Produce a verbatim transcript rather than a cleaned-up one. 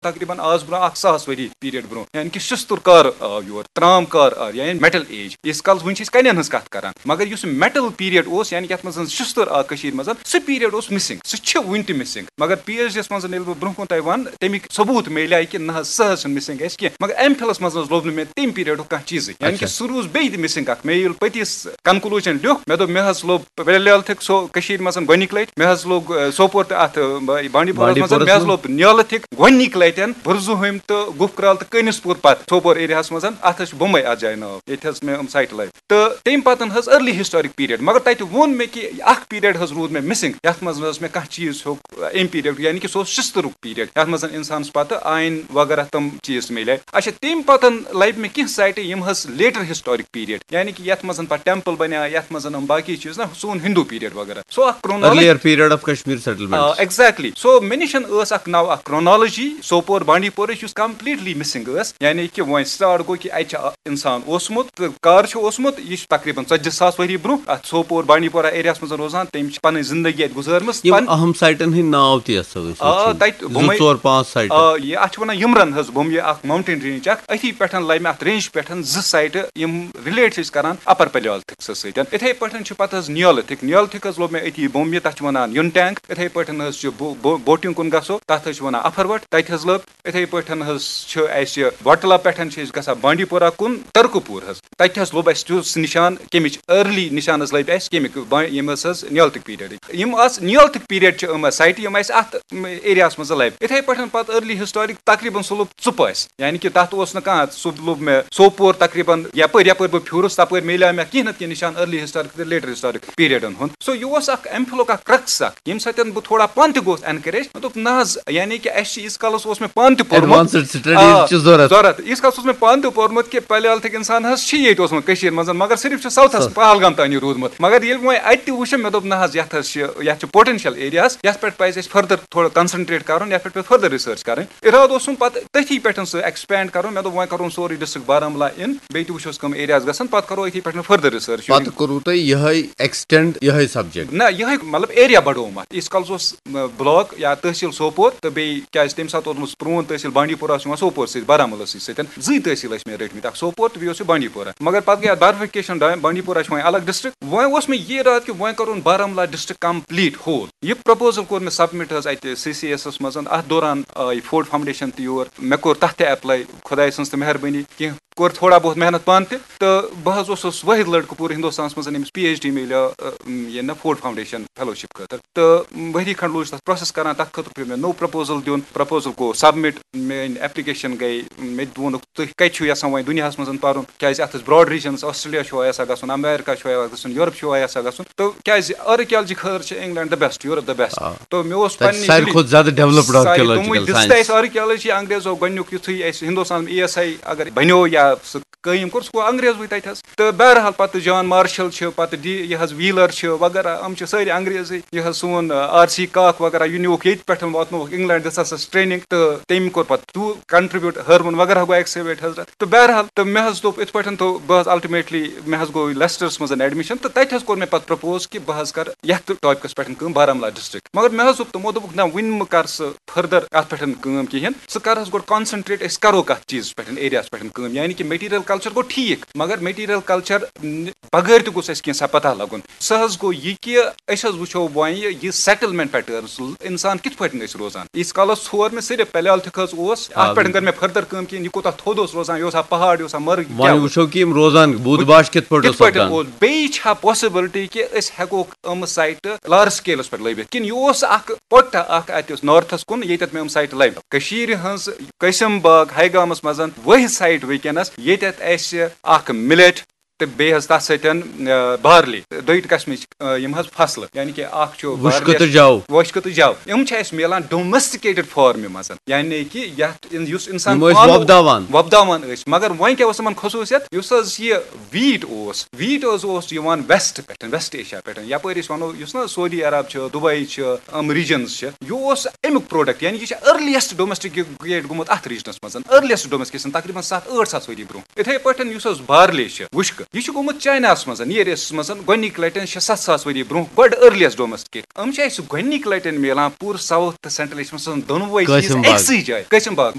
تقریباً آز برونٛہہ اکھ ساس ؤری پیریڈ برونٛہہ، یعنی کہِ شستُر کار آو یور، ترام کار آو، یعنی میٹل ایج۔ ییٖتِس کالَس وٕنہِ چھِ أسۍ کنٮ۪ن ہٕنٛز کَتھ کران، مگر یُس میٹل پیریڈ اوس، یعنی کہِ یَتھ منٛز زَن شستُر آو کٔشیٖرِ منٛز، سُہ پیریڈ اوس مسنگ، سُہ چھُ وٕنہِ تہِ مسنگ۔ مگر پی ایچ ڈی یَس منٛز ییٚلہِ بہٕ برونٛہہ کُن تۄہہِ وَنہٕ، تَمِکۍ ثبوٗت میلیٛاے کہِ نہ حظ، سُہ حظ چھُنہٕ مسنگ اَسہِ کینٛہہ۔ مگر ایم فِلَس منٛز نہ حظ لوٚب نہٕ مےٚ تَمہِ پیریڈُک کانٛہہ چیٖزٕے، یعنی کہِ اچھا۔ سُہ روٗز بیٚیہِ تہِ مسنگ اکھ۔ مےٚ ییٚلہِ پٔتِس کنکلوجن لیوٚکھ، مےٚ دوٚپ، مےٚ حظ لوٚب پلیولتھک سو کٔشیٖرِ منٛز گۄڈٕنِک لٹہِ، مےٚ حظ لوٚگ، آ، سوپور تہٕ اتھ، آ، بانڈی پورہ منٛز، بانڈی پورہس مےٚ حظ منٛز۔ لوٚب نیولتھک گۄڈٕنِک لٹٮ۪ن بُرزُہوٚمۍ تہٕ گُپھ کرٛال تہٕ کٲنِس پوٗر پتہٕ سوپور ایریاہس منٛز۔ اتھ حظ چھِ بمبے اتھ جایہِ ناو، ییٚتہِ حظ مےٚ یِم سایٹہٕ لبہِ۔ تہٕ تَمہِ پتہٕ حظ early historic period، مگر تتہِ ووٚن مےٚ کہِ اکھ پیریڈ حظ روٗد مےٚ مسنگ، یتھ منٛز نہٕ حظ مےٚ کانٛہہ چیٖز ہیوٚک، آ، امہِ پیریڈُک، یعنی کہِ سُہ اوس شستُرُک پیریڈ، یتھ منٛز انسانس پتہٕ آیِن وغیرہ تِم چیٖز تہِ میلے۔ اچھا، تَمہِ پتہٕ لبہِ مےٚ کینٛہہ سایٹہٕ، یِم حظ later historic period، یعنی کہِ یتھ منٛز پتہٕ ٹیمپل بنیٛا، یتھ منٛز یِم باقی چیٖز نا، سون ہندو پیریڈ وغیرہ۔ سو اکھ کرونالوجی۔ Earlier period of Kashmir settlement۔ آ، exactly۔ سو مےٚ نِش ٲس اکھ ناو، اکھ کرونالوجی، سوپور بانڈی پورٕچ، یُس completely missing ٲس، یعنی کہِ وۄنۍ start گوٚو کہِ اتہِ چھُ اکھ انسان اوسمُت تہٕ کر چھُ اوسمُت، یہِ چھُ تقریباً ژتجی ساس ؤری برونٛہہ اتھ سوپور بانڈی پورہ ایریاہس منٛز روزان، تٔمۍ چھِ پنٕنۍ زندگی اتہِ گُزٲرمٕژ۔ یِم پن- اہم سایٹن ہٕنٛدۍ ناو تہِ یژھو أسۍ آ، وٕچھِنۍ۔ تتہِ زٕ بُمے-، ژور پانٛژھ سایٹہٕ۔ آ، یہِ، اتھ چھِ ونان یمرن حظ بُم، یہِ اکھ mountain range اکھ۔ أتھی پٮ۪ٹھ لبہِ مےٚ اتھ range پٮ۪ٹھ زٕ سایٹہٕ، یِم relate چھِ أسۍ کران اپر پلیولتھک سۭتۍ۔ اِتھے پٲٹھۍ چھُ پتہٕ حظ نیولتھک، نیولتھک حظ لوٚب مےٚ أتی بُم، یہِ، تتھ چھِ ونان یُن ٹینگ۔ اِتھے پٲٹھۍ حظ چھُ بو-، بو-، بوٹنگ کُن گژھو، تتھ حظ چھِ ونان اپھروٹ، تتہِ حظ لٔب۔ اِتھے پٲٹھۍ حظ چھُ اسہِ وٹلا پٮ۪ٹھ چھِ أسۍ گژھان بانڈی پورہ کُن، ترکہٕ پوٗر حظ۔ تتہِ حظ لوٚب اسہِ تیُتھ سُہ نشان، کمِچ early نشان حظ لٔبۍ اسہِ، کمِکۍ با-، یِم حظ حظ نیولتھک پیریڈٕکۍ۔ یِم آز نیولتھک پیریڈ چھِ یِم سایٹہٕ، یِم اسہِ اتھ ایریاہس منٛز لبہِ۔ اِتھے پٲٹھۍ پتہٕ early historic تقریباً سُہ لوٚب ژُپ اسہِ، یعنی کہِ تتھ اوس نہٕ کانٛہہ، سُہ لوٚب مےٚ سوپور تقریباً یپٲرۍ، یپٲرۍ بہٕ پھیوٗرُس تپٲرۍ میلیو مےٚ کینٛہہ نتہٕ کینٛہہ نشان early historic تہٕ later historic پیریڈن ہُنٛد۔ سو یہِ اوس اکھ ایم فِلُک اکھ crux اکھ، ییٚمہِ سۭتۍ بہٕ تھوڑا پانہٕ تہِ گوس encourage۔ مےٚ دوٚپ، نہ حظ، یعنی کہِ اسہِ چھِ ییٖتِس کالس اوس مےٚ پانہٕ تہِ پوٚرمُت۔ Advanced studies آ، چھِ ضروٗرت۔ ضروٗرت۔ ییٖتِس کالس اوس مےٚ پانہٕ تہِ پوٚرمُت کہِ پلیولتھک انسان حظ چھِ ییٚتہِ اوسمُت کٔشیٖرِ منٛز، مگر صرف چھُ ساوتھس، ساوتھ۔ پہلگام تانی روٗدمُت۔ مگر ییٚلہِ وۄنۍ اتہِ تہِ وٕچھُم، مےٚ دوٚپ، نہ حظ، یتھ حظ چھِ، یتھ چھِ potential areas، یتھ پٮ۪ٹھ پزِ اسہِ further تھوڑا concentrate کرُن، یتھ پٮ۪ٹھ پزِ further research کرٕنۍ۔ ارادٕ اوسُم پتہٕ تٔتھی پٮ۪ٹھ سُہ expand کرُن۔ مےٚ دوٚپ، وۄنۍ کرون سورُے district بارہمولہ in، بیٚیہِ تہِ وٕچھوس کٕم areas گژھن، پتہٕ کرو أتھی پٮ۪ٹھ further research۔ پتہٕ کوٚروٕ تۄہہِ یِہوٚے extend، یِہوٚے subject؟ نہ، یِہوٚے مطلب area بڑووُم اتھ۔ ییٖتِس کالس اوس، م، block یا تحصیل سوپور، تہٕ بیٚیہِ کیازِ تمہِ ساتہٕ اوسمُت پرون تحصیل بانڈی پورہ اوس یِوان سوپور سۭتۍ، بارہمولہ سۭتۍ سۭتۍ، زٕے تحصیل ٲسۍ مےٚ رٔٹمٕتۍ، اکھ سوپور تہٕ بیٚیہِ اوس یہِ بانڈی پورہ۔ مگر پتہٕ گٔے اتھ bifurcation، بانڈی پورہ چھُ وۄنۍ الگ district۔ وۄنۍ اوس مےٚ یہِ ارادٕ کہِ وۄنۍ کرون بارہمولہ district complete whole۔ یہِ proposal کوٚر مےٚ submit حظ اتہِ سی سی ایس منٛز۔ اتھ دوران آیہِ فورڈ فاؤنڈیشن تہِ یور، مےٚ کوٚر تتھ تہِ apply، خۄداے سٕنٛز تہِ مہربٲنی، کینٛہہ کوٚر تھوڑا بہت محنت پانہٕ تہِ، تہٕ بہٕ حظ اوسُس وٲحد لڑکہٕ پوٗرٕ ہندوستانس منٛز، ییٚمِس پی ایچ ڈی میلیو، ٲ، یہِ نہ فورڈ فاؤنڈیشن فیلوشپ خٲطرٕ۔ تہٕ ؤری کھنڈ لوٚگ تتھ process کران، تتھ خٲطرٕ پیوٚو مےٚ نوٚو proposal دیُن۔ Proposal گوٚو submit، میٲنۍ application گٔے، مےٚ تہِ ووٚنُکھ، تُہۍ کتہِ چھِو یژھان وۄنۍ دُنیاہس منٛز پرُن؟ کیازِ اتھ ٲسۍ broad regions، آسٹریلیا چھُوا یژھان گژھُن، امیرکا چھُوا یژھان گژھُن، یورپ چھُوا یژھان گژھُن؟ تہٕ کیازِ archaeology خٲطرٕ چھِ England the best، Europe the best۔ آ۔ تہٕ مےٚ اوس تتہِ پننہِ ساروی ضلعہٕ کھۄتہٕ زیادٕ developed ساروی archaeological تِموٕے دِژ science۔ تہِ اَسہِ archaeology انگریزو گۄڈٕنیُک یُتھُے اَسہِ ہندوستان ای ایس آی اگر بنیو یا سُہ قٲیِم کوٚر، سُہ گوٚو انگریزوٕے تَتہِ حظ۔ تہٕ بہرحال پتہٕ جان مارشل چھِ، پتہٕ ڈی، یہِ حظ ویٖلر چھِ وغیرہ، یِم چھِ سٲری انگریزٕے۔ یہِ حظ سون، آ، آر سی کاک وغیرہ، یہِ نیوٗکھ ییٚتہِ پٮ۪ٹھ، واتنووُکھ انگلینڈ، دِژ ہسس training، تہٕ تٔمۍ کوٚر پتہٕ تیوٗت contribute، ہٲروُن وغیرہ گوٚو excavate حضرت۔ تہٕ بہرحال، تہٕ مےٚ حظ دوٚپ، یِتھ پٲٹھۍ تہٕ بہٕ حظ ultimately، مےٚ حظ گوٚو لیسٹرس منٛز admission، تہٕ تتہِ حظ کوٚر مےٚ پتہٕ propose کہِ بہٕ حظ کرٕ یتھ topic-س پٮ۪ٹھ کٲم، بارہمولہ district۔ مگر مےٚ حظ دوٚپ تِمو، دوٚپُکھ، نہ، وُنہِ مہٕ کر سُہ further اتھ پٮ۪ٹھ کٲم کِہینۍ، ژٕ کر حظ گۄڈٕ concentrate، أسۍ کرو کتھ چیٖزس پٮ۪ٹھ، area-ہس پٮ۪ٹھ کٲم، یعنی کہِ material culture گوٚو ٹھیٖک، مگر material culture بغٲر تہِ گوٚژھ اَسہِ کینٛژھا پتہ لگُن۔ سُہ حظ گوٚو یہِ کہِ أسۍ حظ وٕچھو وۄنۍ یہِ settlement patterns، انسان کِتھ پٲٹھۍ ٲسۍ روزان۔ ییٖتِس کالس ژھور مےٚ صرف Paleolithic حظ اوس، آ، اتھ پٮ۪ٹھ بِلکُل۔ کٔر مےٚ further کٲم کِہینۍ، یہِ کوٗتاہ تھوٚد اوس روزان، یہِ اوسا پہاڑ، یہِ اوسا مرگ، یہِ کیٛاہ وۄنۍ اوس؟ وٕچھو کہِ یِم روزان بُدھ باش کِتھ پٲٹھۍ کِتھ اوس پٲٹھۍ سپدان۔ اوس؟ بیٚیہِ چھا possibility کہِ أسۍ ہٮ۪کوکھ یِم site large scale-س پٮ۪ٹھ لٔبِتھ، کِنہٕ یہِ اوس اکھ پۄٹھا اکھ اتہِ اوس north-س کُن، ییٚتٮ۪تھ مےٚ یِم site لٔبۍ؟ کٔشیٖرِ ہٕنٛز قاسم باغ ہیگامس منٛز وۄہہِ site وٕنکیٚنس، ییٚتٮ۪تھ اَسہِ اکھ millet تہٕ بیٚیہِ حظ تَتھ سۭتۍ، آ، barley، دۄیہِ قٕسمٕچ، آ، یِم حظ فصلہٕ، یعنی کہِ اکھ چھُ وُشکہٕ barley-یَس تہٕ جَو۔ وُشکہٕ تہٕ جَو۔ یِم چھِ اَسہِ میلان domesticated form-ہِ منٛز، یعنی کہِ یَتھ اِن-، یُس اِنسان یِم ٲسۍ پانہٕ وۄپداوان۔ وۄپداوان ٲسۍ، مگر وۄنۍ کیٛاہ اوس یِمَن خصوٗصیت؟ یُس حظ یہِ wheat اوس، wheat حظ اوس یِوان west پٮ۪ٹھ، west Asia پٮ۪ٹھ، یَپٲرۍ أسۍ وَنو، یُس نہ سعودی عرب چھُ، دُبے چھُ، یِم regions چھِ، یہِ اوس اَمیُک product، یعنی یہِ چھُ earliest domesticated گوٚمُت اَتھ region-س منٛز، earliest domestication، تقریباً ستھ ٲٹھ ساس ؤری برونٛہہ۔ یِتھَے پٲٹھۍ یُس حظ barley چھِ، وُشکہٕ، یہِ چھُ گوٚمُت چایناہَس منٛز، near east منٛز، گۄڈٕنِکۍ لَٹٮ۪ن شےٚ سَتھ ساس ؤری برونٛہہ، گۄڈٕ earliest domesticate۔ یِم چھِ اَسہِ گۄڈٕنِکۍ لَٹٮ۪ن میلان پوٗرٕ south تہٕ central Asia منٛز دۄنوَے چیٖز قٲسِم باغ۔ أکسٕے جایہِ۔ قٲسِم باغ۔